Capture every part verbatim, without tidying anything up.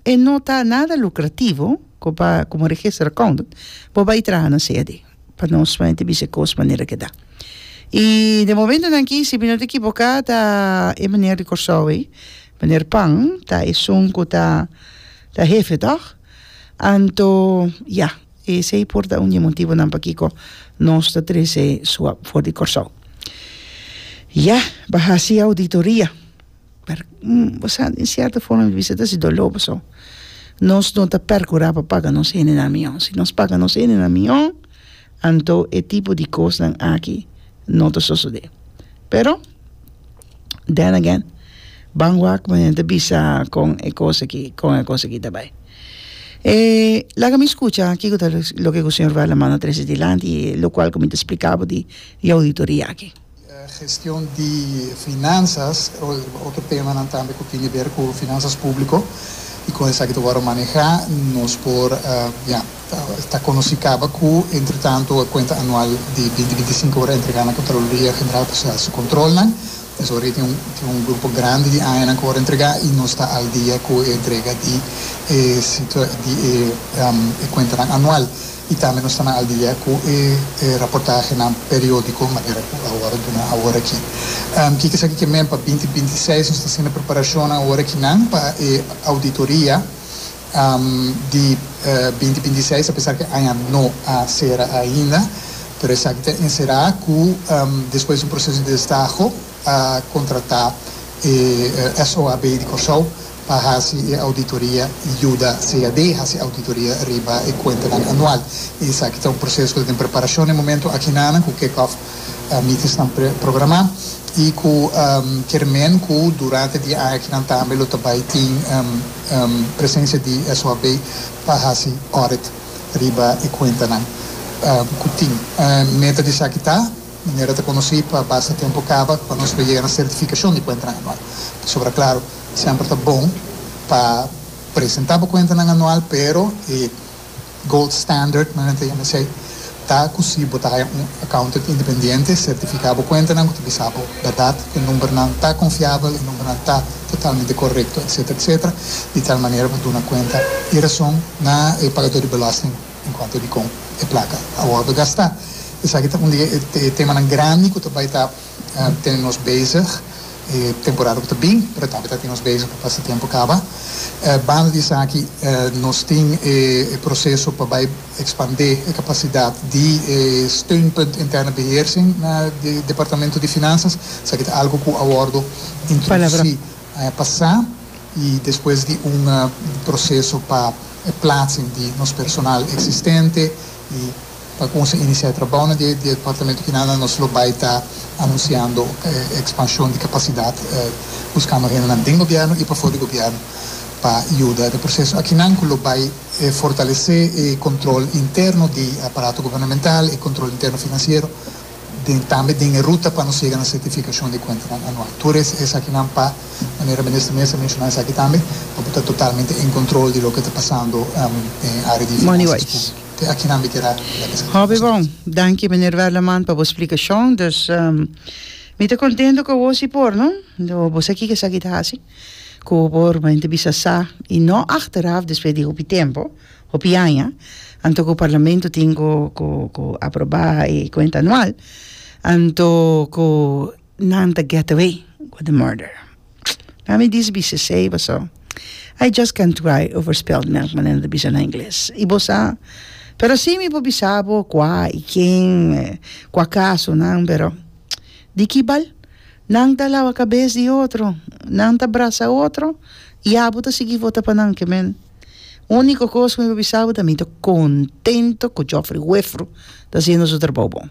E no ta nada lucrativo pa como register accountant bo bay traha na C A D, pa nos solamente bisa cos manera cu ta. Y di momento aki, si mi no ta equivoca, ta e meneer di Corsou, meneer Pan, ta esun cu ta ta hefe, toch? Anto, ja, esey por ta un motibo nan pakico nos ta trece S O A B for di Corsou. Ja, pa haci auditoria. Pero, mm, bo, den cierto forma, bisa ta si dolor so. Nos no ta percura pa paga nos hendenan miho. Si nos paga nos hendenan miho, anto e tipo di cos aki no ta sucede. Pero, then again, ban wak manera bisa con e cos aki, con e cos aki tambe. Eh, laga mi scucha aki loke e señor Werleman a trece dilanti, locual cu mi a splica di, di auditoria aki. Gestion di finansas, otro tema tambe cu tin di haber cu finansas publico y con esaki ta wordo maneha, nos por uh, ja, ta conoci caba cu entre tanto e cuenta anual di dos mil binticinco a wordo entrega na Contraloria General pa su control, ne? Anto, tin un, tin un grupo grandi di aña cu a wordo entrega y nos ta al dia cu e entrega di, eh, di eh, um, cuenta anual. Y tambe nos ta al dia cu e eh, reportahe periodico, manera cu awor awor aki. Um, kico esaki kiermen pa dos mil bintiseis? Nos ta haciendo preparacion awor aki nan pa e auditoria um, di uh, dos mil bintiseis, apesar cu ainda no a cera ainda, pero esaki ta encera cu um, despues di un proceso di destaho a contrata eh, S O A B di Corsou pa haci auditoria, yuda C A D haci auditoria riba e cuenta anual. Y esaki ta un proceso di preparacion na e momento aki nan, cu kick-off uh, meetings nan programa y cu um, kiermen cu durante e aña aki nan tambe lo tambe tin um, um, presencia di S O A B pa haci audit riba e cuenta nan um, cu tin. Um, meta di esaki ta, manera ta conoci pa basta tempo caba, pa nos yega na certificacion di cuenta anual. Sobra, claro, semper ta bon pa presenta e cuenta anual, pero e gold standard, manera ta yama, ta cu si bo ta un accountant independiente certifica e cuenta nan, cu ta berdad, cu e number nan ta confiabel, e number nan ta totalmente corecto, et cetera, et cetera. Di tal manera pa duna cuenta y rason na e pagador di belasting en cuanto di con e placa a wordo gasta. Esaki ta un tema grandi cu tambe ta tene nos bezig e temporada cu ta bin, pero tambe ta tene nos bezig pa basta tempo caba. Uh, banda di esaki, uh, nos tin e proceso pa bay expande e capacidad di eh, steunpunt interne beheersing na e departamento di finansas. Esaki ta algo cu a wordo introduci uh, pasa y despues di un uh, proceso pa plaatsing di nos personal existente y pa cuminsa inicia trabou den departamento cu nada nos lo bay ta anunciando eh, expansion di capacidad, eh, buscando hende den gobierno y pafo di gobierno pa yuda den e proceso aki nan lo bay eh, fortalece e control interno di aparato gubernamental y control interno financiero den, tambe den ruta pa nos yega na certificacion di cuenta anual. Tur esaki nan pa manera minister mes a menciona esaki tambe, pa ta totalmente en control di loke ta pasando um, den area di Money-wise. Aki nan kier Hopi bon. Danki, meneer Werleman, pa e splicacion. Dus, um, mi ta contento cu bo por, no? Bo aki cu esaki ta asina. Cu por mente bisa sa y no achteraf despues di hopi tempo, hopi aña, anto cu parlamento tin cu cu cu aproba e cuenta anual, anto cu nan ta get away with the murder. Nou, mi diz bisa sei, so I just can't cry over spilled milk, manera ta bisa na Ingles. Y bo sa, pero si mi por bisa bo cua y ken, cua caso nan, pero di ki bal? Nan ta lawa cabes di otro, nan ta brasa otro, y abo ta sigui vota pa nan, kiermen. Unico cos cu mi por bisa bo ta mi ta contento cu Geoffrey Wefru ta haciendo su trabou bon.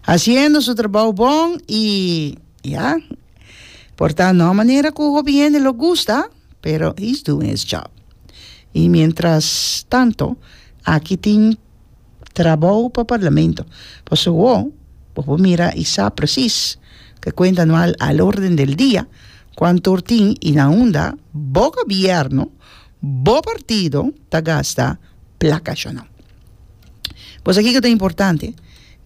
Haciendo su trabou bon y ja, por tanto, no manera cu gobierno lo gusta, pero he's doing his job. Y mientras tanto, aki tin trabou pa parlamento. Pasobra, bo mira y sa precies cu cuenta anual al orden del día, cuanto tin y na unda, bo gobierno, bo partido, ta gasta placa no. Pues aki cu ta importante,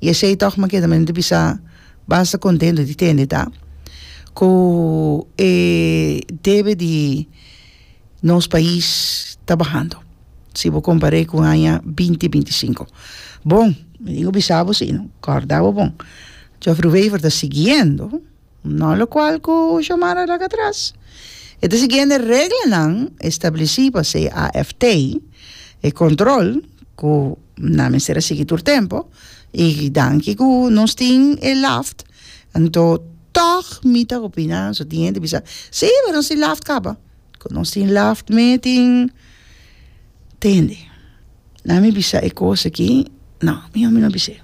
y esey toch mi kier tambe bisa basta contento di tende, ta? Cu eh, debe di Nos pais ta bahando si bo kompar'é ku aña binti binti sinku. Bon, mi tin ku bisa bo si, no? Kòrda bo bon. Geoffrey Wever ta siguiendo, no lokual ku Xiomara a laga atras. E ta siguiendo e reglanan establesí pa C A F T, e kontrol ku nan mester a sigui tur tempu, i danki ku nos tin e LAFT, anto tòg mi ta opiná, so tin hende bisa, sí, pero nos tin LAFT kaba. Ku nos tin LAFT me tin tende. Na mi bisa e kos aki, no, mi mi no bis'é.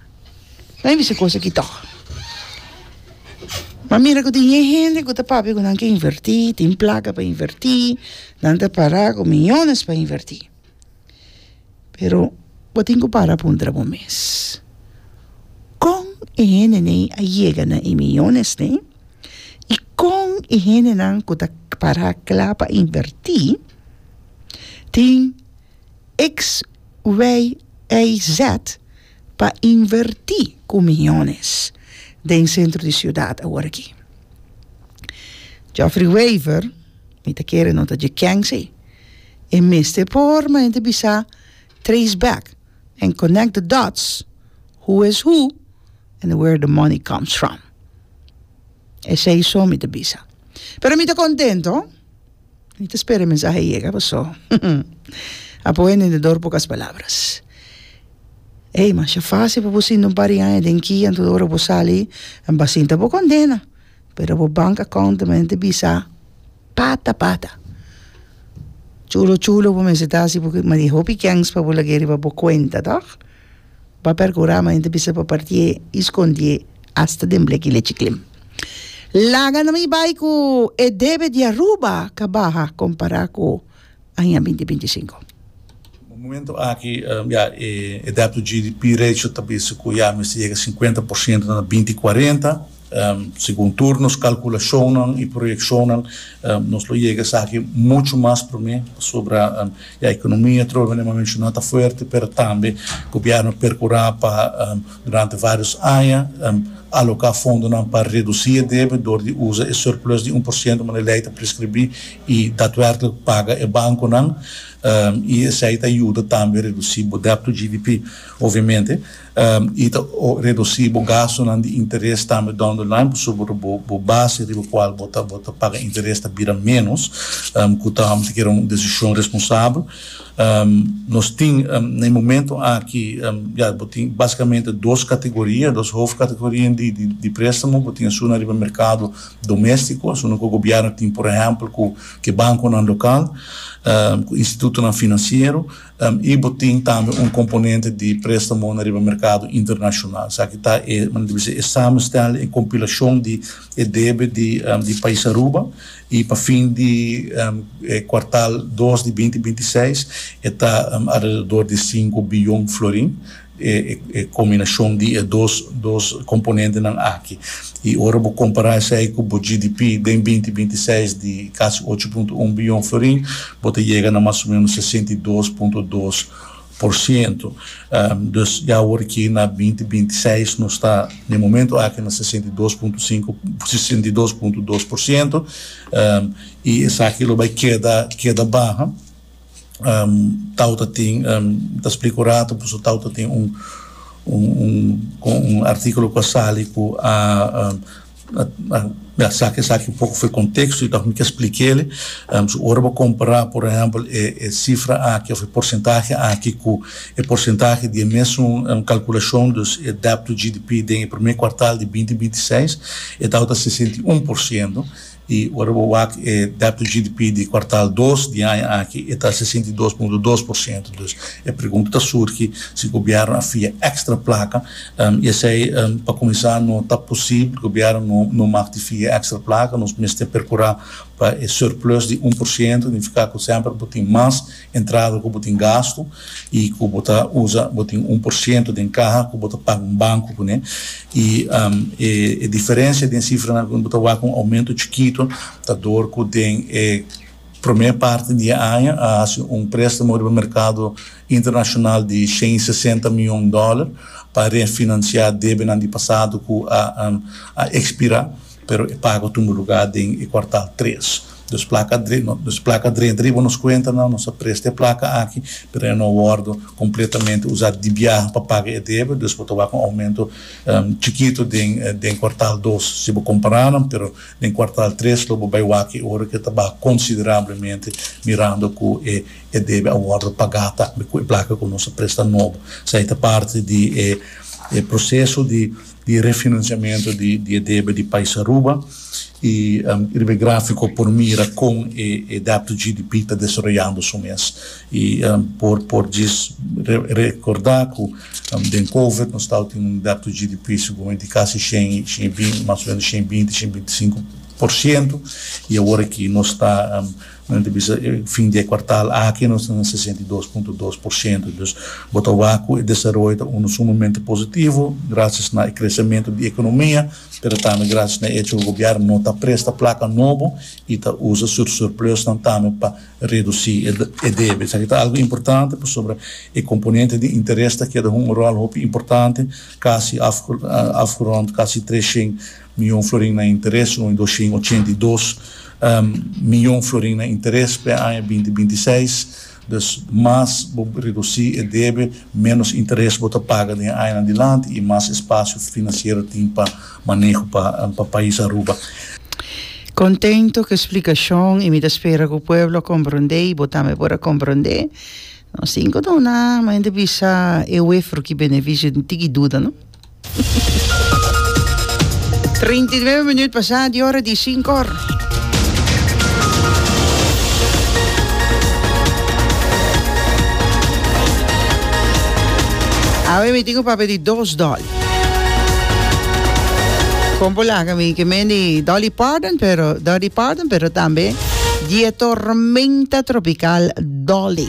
Na mi bisa e kos aki tòg. Ma mira ku tin hende ku ta papia ku nan ke invertí, tin plaka pa invertí, nan ta para ku miyones pa invertí. Pero bo tin ku para puntra bo mes. Kon e hendenan a yega na e miyones ne? I kon e hendenan ku ta para kla pa invertí, tin X, Y, Y, Z pa invertí ku miyones den sentro di siudat awor aki. Geoffrey Wever, mi ta kere no ta dje kense, e mester por ma hende bisa trace back and connect the dots, who is who and where the money comes from. Esei so mi ta bisa. Pero mi ta kontento. Mi ta spera e mensahe yega, paso. A buen entendedor, pocas palabras. Ei, masha fásil pa bo sinta un par di aña den kia, anto ora bo sali, bo sinta bo kondena. Pero bo bank account tambe ta bisa pata pata. Chulo chulo bo mester ta hasi porque ma di hopi kens pa bo lag'é riba bo kuenta, tòg? Bo a perkurá ma hende bisa pa partié i skondié hasta den bleki lechi klim. Laga na mi bai ku e debe di Aruba ka baha kompará ku aña binti binti sinku. Momento aki um, ja, e, e debt to G D P ratio ta bisa ku ya mester yega sinkuenta porshento na binti kuarenta. Um, segun tur nos kalkulashonnan i proyekshonnan, um, nos lo yega esaki muchu mas promé pasobra um, e ekonomia trobe mi menshoná ta fuerte, pero tambe gobièrnu a perkurá pa um, durante vários aña um, aloká fondonan pa redusí e debe dor di usa e surplus di un porshento manera lei ta preskribí i daadwerkelijk paga e bankonan um, i esei ta yuda tambe redusí e debt to G D P, obviamente, um, i ta redusí e gastonan di interes tambe down the line, pasobra bo bo base riba kual bo ta bo ta paga interes ta bira menos, um, ku ta ku un desishon responsabel. Um, nos tin um, na momento aki um, ja, tin básikamente dos kategoria, dos hoofdcategorieën di, di, di préstamo. Bo tin esun riba merkado doméstiko, esun ku gobièrnu tin, por ehèmpel, ku ku bankonan lokal, um, ku institutonan finansiero, um, i bo tin tambe un komponente di préstamo riba merkado internashonal. Esaki ta e, e samenstelling e kompilashon di e debe di, um, di pais Aruba i pa fin di um, kwartaal dos di binti binti seis ta um, alrededor di sinku bion florin, e, e, kombinashon di e dos, dos komponentenan aki. I ora bo kompará esei ku e G D P di binti binti seis di kasi ocho punto un bion florin, bo ta yega na mas o ménos sesenta i dos punto dos porshento. Um, dus ja, awor aki na binti binti seis nos ta na momento aki na sesenta i dos punto sinku, sesenta i dos punto dos porshento, um, i esaki lo bai keda keda baha. Um, tawata tin um, ta splika rato, pues tawata tin un un un un artíkulo ku a sali ku a ja, esaki esaki un poko for di konteksto i anto mi ke splik'é. Um, so ora bo kompará, por ehèmpel, e, e sifra aki òf e porsentahe aki ku e porsentahe di mesun um, kalkulashon, dus e debt to G D P den promé kwartaal di binti binti seis, e ta sesenta i un porshento, i ora bo wak e debt to G D P di kwartaal dos di aña aki ta sesenta i dos punto dos porshento. Dus e pregunta ta surgi si gobièrnu a fia èkstra plaka, um, i esei, um, pa kuminsá, no ta posibel. Gobièrnu no no mag fia èkstra plaka. Nos mester perkurá pa e surplus di un porshento, signifiká ku semper bo tin mas entrada ku bo tin gasto i ku bo ta usa, bo tin un porshento di kaha ku bo ta paga un banko kuné. I um, e, e diferensia di sifra ku bo ta wak un oumento chikitu ta dor ku den e promé parti di aña a hasi un préstamo di merkado internashonal di shen i sesenta mion dòler pa refinansiá debenan di pasado ku a, um, a ekspirá, pero e pago a tuma lugá den kwartaal tres. Dus placa dus placa drenta riba nos cuentanan, nos a presta e placa aki, pero e no a wordo completamente usa di biaha pa paga e debe, dus bo ta wak un aumento chikito den den kwartaal dos si bo compara nan, pero den kwartaal tres lo bo bay wak e ora cu e ta baha considerablemente mirando cu e e debe a wordo paga tambe cu e placa cu nos a presta nobo. Esey ta parti di e e proceso di di refinanciamento di di e debe di pais Aruba y riba e grafico por mira con e e debt to G D P ta desaroyando su mes y por por djis recorda cu den covid nos tawata tin un debt to G D P seguramente di casi shen shen y binti mas o menos shen y binti shen y binti sinku por ciento y awor aki nos ta nan ta bisa fin di e kwartal aki nos ta na sesenta i dos punto dos por ciento. Dus bo ta wak ku e desaroyo ta unu sumamente positivo gracias na e crecemento di economia, pero tambe gracias na e hecho ku gobierno no ta presta placa nobo y ta usa su surplusnan tambe pa reduci e debe. Esaki ta algo importante pasobra e componente di interes ta keda un rol hopi importante, casi afgerond casi treshen miyon florin na interes, un doshen ochenta i dos miyon florin na interes p'e aña binti binti i seis. Dus mas bo reduci e debe, menos interes bo ta paga den e añanan dilanti y mas espacio financiero tin pa maneho pa pa pais Aruba. Contento cu e splicacion y mi ta spera cu pueblo a comprende y bo tambe por a comprende. Nos tin cu duna, ma hende bisa e wefro ki beneficio tin tiki duda, no? Trinta i nuebe minuut pasá di ora di sinku or. Awe mi tin ku papia di dos Dolly. Kon por laga mi ke men di Dolly Parton, pero Dolly Parton, pero tambe di e tormenta tropical Dolly.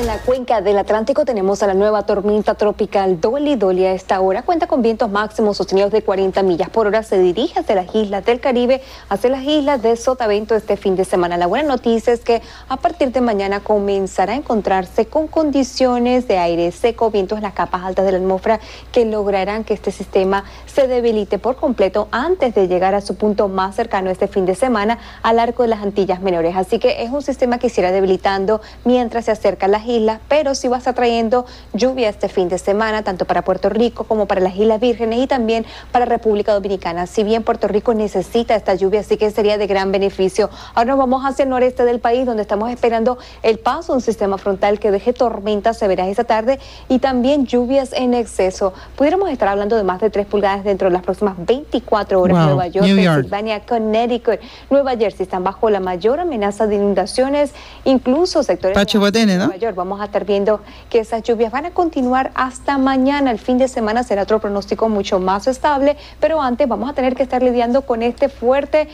En la cuenca del Atlántico tenemos a la nueva tormenta tropical Dolly. Dolly a esta hora cuenta con vientos máximos sostenidos de cuarenta millas por hora. Se dirige hacia las islas del Caribe, hacia las islas de Sotavento este fin de semana. La buena noticia es que a partir de mañana comenzará a encontrarse con condiciones de aire seco, vientos en las capas altas de la atmósfera que lograrán que este sistema se debilite por completo antes de llegar a su punto más cercano este fin de semana al arco de las Antillas Menores. Así que es un sistema que se irá debilitando mientras se acerca a las islas, pero sí va a estar trayendo lluvia este fin de semana, tanto para Puerto Rico como para las Islas Vírgenes y también para República Dominicana. Si bien Puerto Rico necesita esta lluvia, así que sería de gran beneficio. Ahora nos vamos hacia el noreste del país, donde estamos esperando el paso de un sistema frontal que deje tormentas severas esta tarde y también lluvias en exceso. Pudiéramos estar hablando de más de tres pulgadas dentro de las próximas veinticuatro horas. Wow. Nueva York, New York. Pensilvania, Connecticut, Nueva Jersey están bajo la mayor amenaza de inundaciones, incluso sectores Pacho de Botene, ¿no? Nueva York. Vamos a estar viendo que esas lluvias van a continuar hasta mañana. El fin de semana será otro pronóstico mucho más estable, pero antes vamos a tener que estar lidiando con este fuerte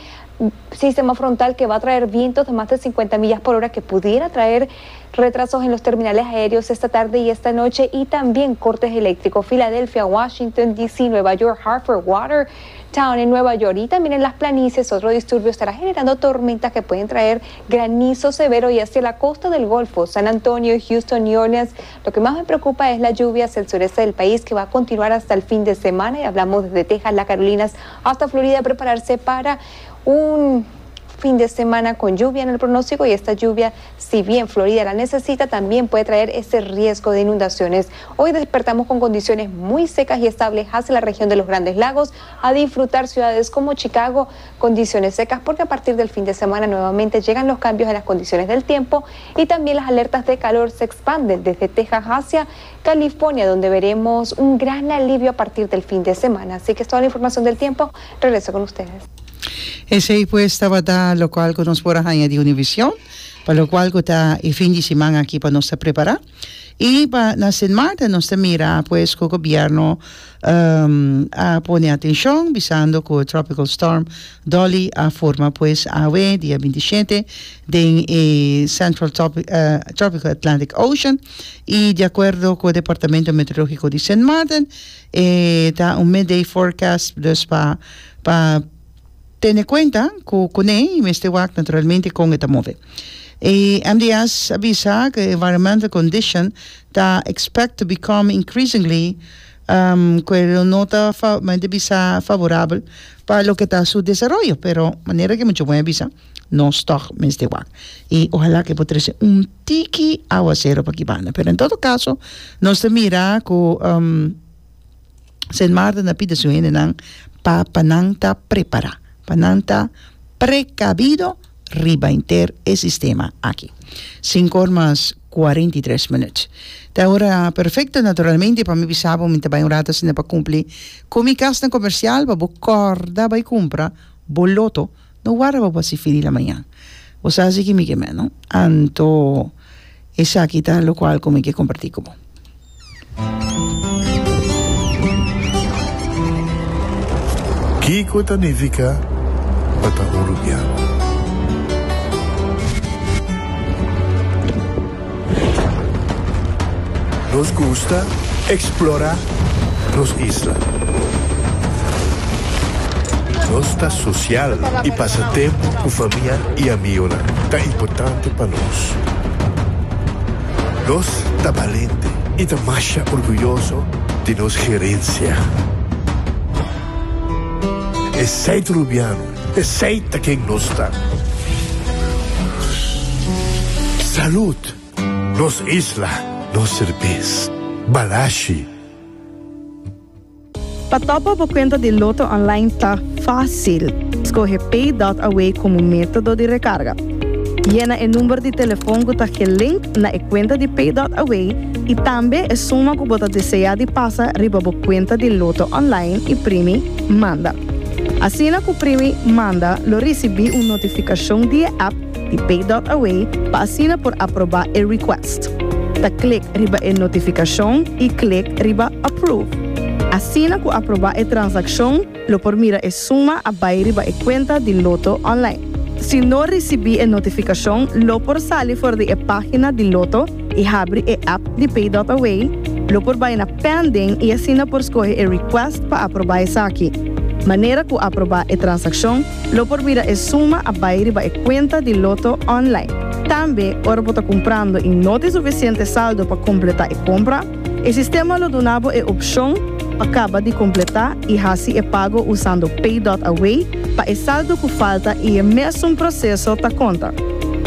sistema frontal que va a traer vientos de más de cincuenta millas por hora, que pudiera traer retrasos en los terminales aéreos esta tarde y esta noche, y también cortes eléctricos. Filadelfia, Washington, D C, Nueva York, Hartford, Watertown en Nueva York y también en las planicies otro disturbio estará generando tormentas que pueden traer granizo severo, y hacia la costa del Golfo, San Antonio, Houston, New Orleans. Lo que más me preocupa es la lluvia hacia el sureste del país, que va a continuar hasta el fin de semana, y hablamos desde Texas, las Carolinas hasta Florida, prepararse para un fin de semana con lluvia en el pronóstico, y esta lluvia, si bien Florida la necesita, también puede traer ese riesgo de inundaciones. Hoy despertamos con condiciones muy secas y estables hacia la región de los Grandes Lagos, a disfrutar ciudades como Chicago, condiciones secas, porque a partir del fin de semana nuevamente llegan los cambios en las condiciones del tiempo, y también las alertas de calor se expanden desde Texas hacia California, donde veremos un gran alivio a partir del fin de semana. Así que es toda la información del tiempo. Regreso con ustedes. Esey pues tabata locual cu nos por a haña di Univision, pa locual cu ta e fin di siman aki pa nos ta prepara. Y pa na Sint Maarten nos ta mira pues cu gobierno, um, a pone atencion, bisando cu Tropical Storm Dolly a forma pues awe dia veintisiete den e Central Tropi-, eh, Tropical Atlantic Ocean, y de acuerdo cu el Departamento Meteorológico di Sint Maarten, eh, ta un midday forecast, dus pa, pa tene cuenta cu, cu ne, y mester wak naturalmente con e ta move. E M D S a bisa ku environmental condition ta expect to become increasingly um, ku no ta fa, bisa favorabel pa loke ta su desaroyo, pero manera ku mucho bon bisa, nos toch mester wak. I ohalá ku por trese un tiki áwaseru pa aki banda. Pero en todo kaso, nos ta mira ku um, Sint Maarten a pidi su hendenan pa pa nan ta prepará, pa nan ta prekabido riba henter e sistema aki. Sinku or mas kuarenta i tres minüt. Ta ora perfekto, naturalmente, pa mi bisa bo, mi tambe un ratu asina pa kumpli ku mi kas komersial, pa bo kòrda bai kumpra bo loto, no warda pa fin di mañan. Bo sa ku mi ke no? Anto, esaki ta loke ku mi ke kompartí ku bo. Kiko ta nifiká pa ta un rubiano? Nos gusta eksplorá nos isla. Nos ta sosial i pasa tempu ku famia i amigu. Ta importante pa nos. Nos ta balente i ta mas orguyoso di nos herensia. Esei ta rubiano, esei ta ken nos ta. Salú, nos isla, nos serbes, Balashi. Pa top up bo kuenta di Lotto Online ta fásil. Skohe Pay punto A W komo método di rekarga. Yena e number di telefòn ku ta gelink na e kuenta di Pay punto A W i tambe e suma ku bo ta deseá di pasa riba bo kuenta di Lotto Online i primi Manda. Asina ku primi Manda, lo risibí un notifikashon di app di Pay punto A W pa asina por aprobá e request. Ta klek riba e notifikashon i klek riba Approve. Asina ku aprobá e transakshon, lo por mira e suma a bai riba e kuenta di Lotto Online. Si no risibí e notifikashon, lo por sali for di e página di Lotto i habri e app di Pay punto A W, lo por bai na Pending i asina por skohe e request pa aprobá esaki. Manera ku aprobá e transakshon, lo por mira e suma a bai riba e kuenta di Lotto Online. Tambe, ora bo ta kumprando i no tin sufisiente saldo pa kompletá e kompra, e sistema lo duna bo e opshon pa kaba di kompletá i hasi e pago usando Pay punto A W pa e saldo ku falta i e mesun proseso ta konta.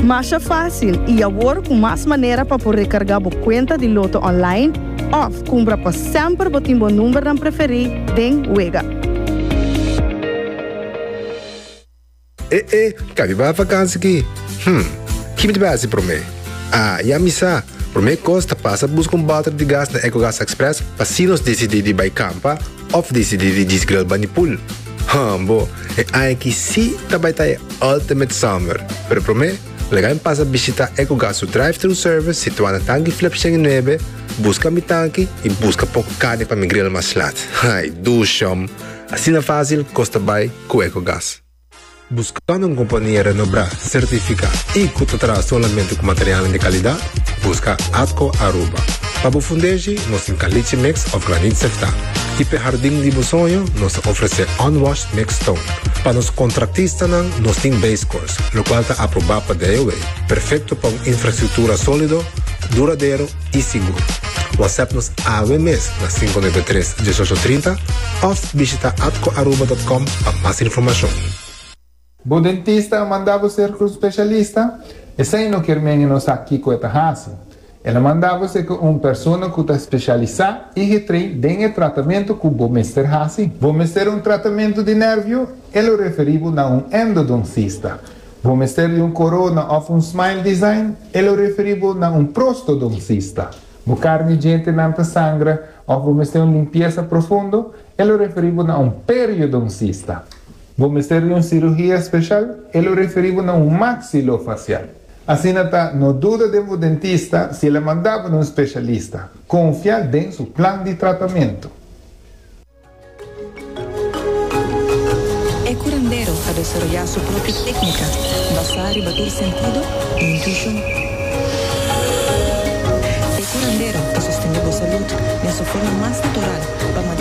Mas fásil i awor ku mas manera pa por rekargá bo kuenta di Lotto Online òf kumpra pa semper bo tin bo numbernan preferí den wega. Eh, eh, kabi ba vakantie aki? Hmm, ki mi ta hasi promé? Ah, ya mi sa. Promé kos ta pasa buska un bòter di gas na EcoGas Express pa si nos disidí di bai kampa òf disidí di djis grill band'i pool. Hum, bo, e aki si ta bai ta e ultimate summer. Pero promé, laga mi pasa bishitá EcoGas su drive-thru service situá na Tanki Flip nuebe, buska mi tanki i buska poko karni pa mi grill mas lat. Ai, dushom. Asina fásil, kos ta bai ku EcoGas. Buskando un kompania renombrá, sertifiká i ku ta traha solamente ku material di kalidat? Buska Atco Aruba. Pa bo fundeshi, nos tin caliche mix òf graniet seftá. I pa hardin di bo soño, nos ta ofresé unwashed mix stone. Pa nos kontratistanan, nos tin base course, loke ta aprobá pa D O W. Perfekto pa un infrastruktura sólido, duradero i sigur. WhatsApp nos awe mes na sinku nuebe tres, diesocho trinta òf bishitá atcoaruba punto com pa mas informashon. Bo dentista a manda bo serka un spesialista? Esei no ke men no sa kiko e ta hasi. El a manda bo serka un persona ku ta spesialisá i getrain den tratamentu ku bo mester hasi. Bo mester un tratamentu di nervio? E lo referí bo na un endodoncista. Bo mester di un korona òf un smile design? E lo referí bo na un prostodoncista. Bo karni djentenan ta sangra òf bo mester un limpiesa profundo? E lo referí bo na un periodoncista. Bo mester di un siruhia spesial? E lo referí bo na un maxilofacial. Asina ta, no duda di bo dentista si el a manda bo na un spesialista. Konfia den su plan di tratamentu. E curandero a desaroyá su propio téknika, basá riba tur sentido i intuishon. E curandero ta sostené bo salú den su forma mas natural.